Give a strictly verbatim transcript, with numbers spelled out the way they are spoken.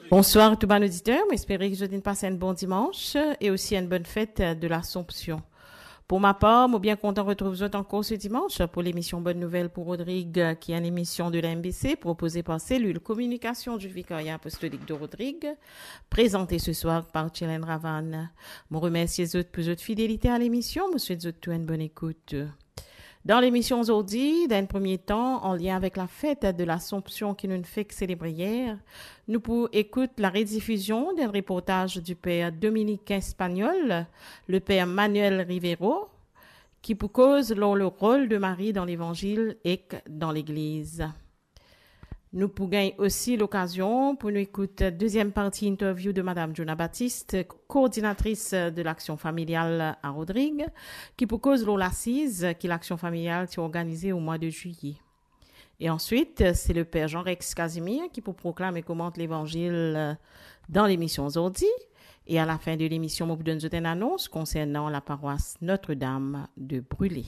Bonswar tou bann oditer, mo espere ki zot inn pas enn bon dimans e osi enn bonn fet de Lasompsion. Pou ma par, mo bien kontan retrouv zot ankor se dimans pou lemision Bonn Nouvel pou Rodrig, ki enn lemision de la M B C propoze par selil kominikasion di Vikarya Apostolik de Rodrig, prezante se swar par Chilène Ravanne. Mo remersie zot pou zot fidelite a lemision, mo swet zot tou enn bonn ekout. Dan lemision zordi, dan enn premie tan, an lien avek lafet de Lasompsion ki nou fek selebre yer, nou pou ekout laredifizion d'enn reportaz di per Dominiken Espagnol, le per Manuel Rivero, ki pou koz lor le rol de Marie dan Levanzil ek dan Legliz. Nou pou gagn osi lokazion pou nou ekout deziem parti interview de Madam Jona Baptiste, koordinatris de Laksion Familial a Rodrig, ki pou koz lor lasiz ki Laksion Familial ti organize o mwa de zilye. E answit, se le per Jean Rex Casimir ki pou proklam e komant Levanzil dan lemision zordi. E a lafin de lemision, mo pou donn zot enn anons konsernan laparwas Notre-Dame de Brûlé.